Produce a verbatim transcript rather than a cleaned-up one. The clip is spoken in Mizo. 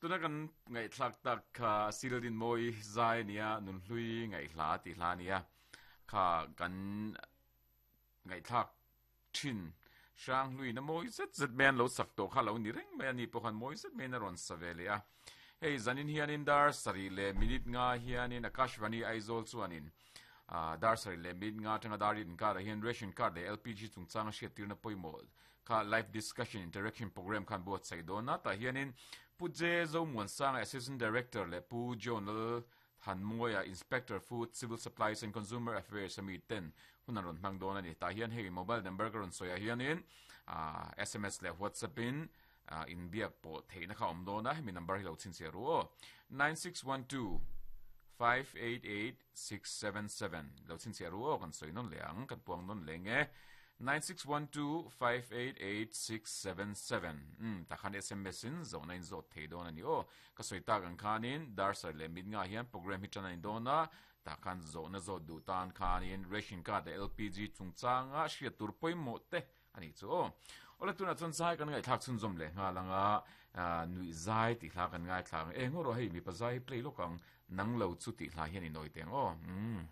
Tuna kan ngaihthlak tak kha Sildin Mawi zai nia Nunhlui ngaihhla tih hla nia kha kan ngaihthlak thin Hranghlui na mawi zet zet mai an lo sak tawh kha lo ni reng mai a ni pawh khan mawi zet maiin a rawn sa ve leh a. Hei zanin hianin dar sarih leh minute nga hianin Akashvani Aizawl chuanin dar sarih leh minute nga atanga dar riat inkarah hian Ration Card leh LPG chungchanga hriattirna pawimawh kha Live Discussion Interaction Programme khan buatsaih dawn a. Tah hianin Pu Je Zomuansanga Assistant Director leh Pu John Lal Thanmawia Inspector Food, Civil Supplies and Consumer Affairs a mi ten hun an rawn hmang dawn a ni. Tah hian hei mobile number ka rawn sawi ah hianin sms leh WhatsApp in inbiak pawh theihna kha a awm dawn a, hemi number hi lo chhinchhiah ru aw, nine six one two five eight eight six seven seven lo chhinchhiah ru aw, kan sawi nawn leh ang, kan puang nawn leh nge. Nine six one two five eight eight six seven seven umm tah khan sms in zawhna in zawt thei dawn a ni aw. Ka sawi tak ang khanin dar sarih leh mit ngah hian program hi tan a ni dawn a, tah khan zawhna zawt duh tan khanin ration card leh LPG chungchanga hriat tur pawimawh te a nih chu aw. Awle tunah chuan zai kan ngaihthlak chhunzawm leh nghal ang a, nuih zai tih hla kan ngaithla ang. Eng aw rawh hei mipa zai hi play lawk ang, nang lo chu tih hla hian i nawi teng aw. Umm.